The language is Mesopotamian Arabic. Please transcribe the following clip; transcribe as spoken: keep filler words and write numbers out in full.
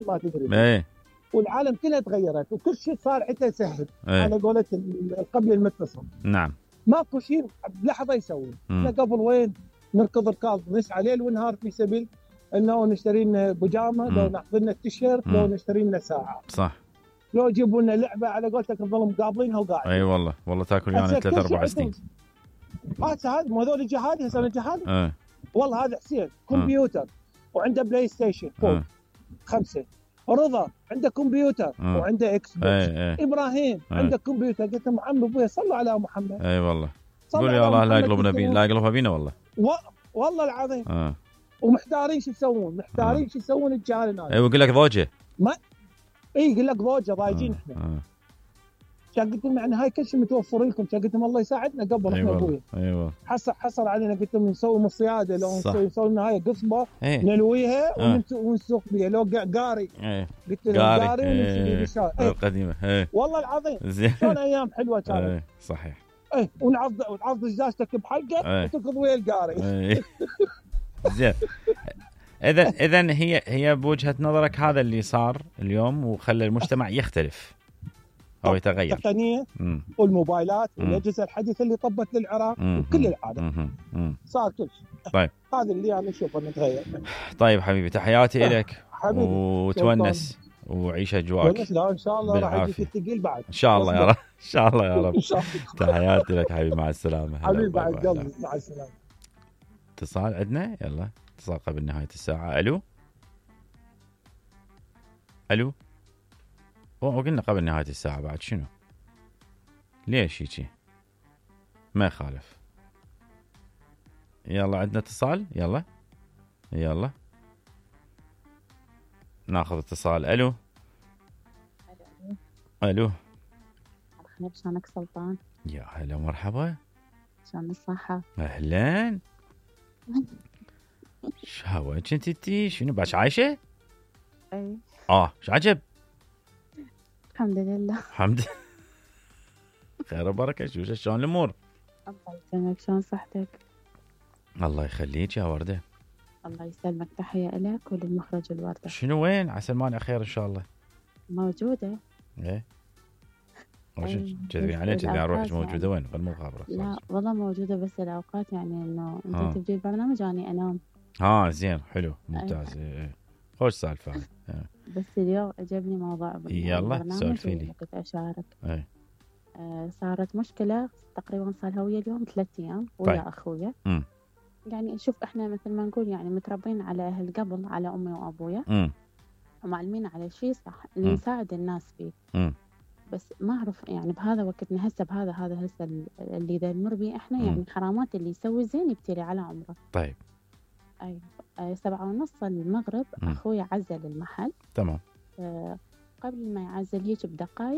ما تدري. ايه والعالم كلها تغيرت وكل شيء صار عنده سهل. ايه على قولة القبل المتصل. نعم. ماكو شيء بلحظه يسوي. احنا قبل وين نركض ركاض نسعى ليل ونهار في سبيل انه نشتري لنا بيجامه، لو ناخذ لنا التيشيرت، لو نشتري لنا ساعه. صح. لو يجيبوا لنا لعبه على قولتك نظل مقابلينها وقاعدين. اي والله والله تاكل يعني ثلاث اربع سنين. هسه هذا مو هذول الجهاد هسه الجهاد. ايه والله هذا حسين كمبيوتر وعنده بلاي ستيشن فوق خمسه. رضا عنده كمبيوتر أه. وعنده اكس بوكس. ايه ايه. ابراهيم ايه. عنده كمبيوتر. قلت له عمي ابوي صلوا على محمد. اي والله قول يا الله لا يقلبنا بينا لا يقلبها بينا والله و... والله العظيم. اه ومحتارين شو يسوون محتارين أه. شو يسوون الجهال الناس. اي ويقول لك ضوجه. ما اي يقول لك ضوجه ضايجين احنا. اه كان قلت لهم يعني هاي كل شيء متوفر لكم. كان قلت لهم الله يساعدنا قبل احنا ابوي. ايوه حصل حصل علينا. قلت لهم نسوي من الصياده لو نسوي نسوي لنا هاي قصبه ايه. نلويها اه. ونسوق بها لو قاري. ايه. قلت لهم قاري ونسوي بالشارع. ايه. القديمه ايه. والله العظيم زين شلون ايام حلوه كانت. ايه صحيح. ايه ونعض ونعض دجاجتك بحلقه ايه. وتركض ويا القاري. ايه. زين اذا اذا هي هي بوجهه نظرك هذا اللي صار اليوم وخلى المجتمع يختلف او يتغير. التقنيه والموبايلات والاجهزه الحديثه اللي طبت للعراق وكل العالم صار كل شيء. طيب هذا اللي انا اشوفه نتغير. طيب حبيبي تحياتي لك وتونس وعيش اجواءك. لا ان شاء الله راح يجيك الثقيل بعد ان شاء الله يا رب ان شاء الله يا رب. تحياتي لك حبيبي مع السلامه. حبيبي بعد قلبي مع السلامه. اتصال عندنا يلا اتصال قبل نهايه الساعه. الو الو وقلنا قبل نهايه الساعه بعد شنو ليش هيجي ما يخالف. يلا عندنا اتصال يلا يلا ناخذ اتصال. الو الو مرحبا شلونك سلطان؟ يا هلا مرحبا. شلون الصحة؟ اهلا. شهوة كنت انتي شنو باش عايشة؟ اي اه شو عجب؟ الحمد لله. الحمد لله خير وبركة. شو شلون الامور؟ الله يسلمك شلون صحتك؟ الله يخليك يا وردة. الله يسلمك تحية لك وللمخرج الوردة. شنو وين عسى المانع خير ان شاء الله. موجودة. ايه كذبين عليك كذبين على روحك موجودة وين غير مخابرة. لا والله موجودة بس الأوقات يعني إنه أنت تبدي البرنامج وأني أنام. ها زين حلو ممتاز. ايه ايه خوش سالفة. اه. بس اليوم عجبني موضوع يلا سولفي لي. كنت أشارك. ايه. آه صارت مشكلة تقريبا صار لها ويا اليوم ثلاث أيام ويا طيب. أخويا. م. يعني شوف إحنا مثل ما نقول يعني متربين على أهل قبل على أمي وأبويا. م. ومعلمين على شيء صح اللي نساعد الناس فيه. م. بس ما أعرف يعني بهذا وقتنا هسه بهذا هذا هسه اللي ذا نمر بيه إحنا. م. يعني حرامات اللي يسوي زين يبتلي على عمره. طيب. أي آه سبعة ونص المغرب م. أخوي عزل المحل. تمام. آه قبل ما يعزل هيك بدقائق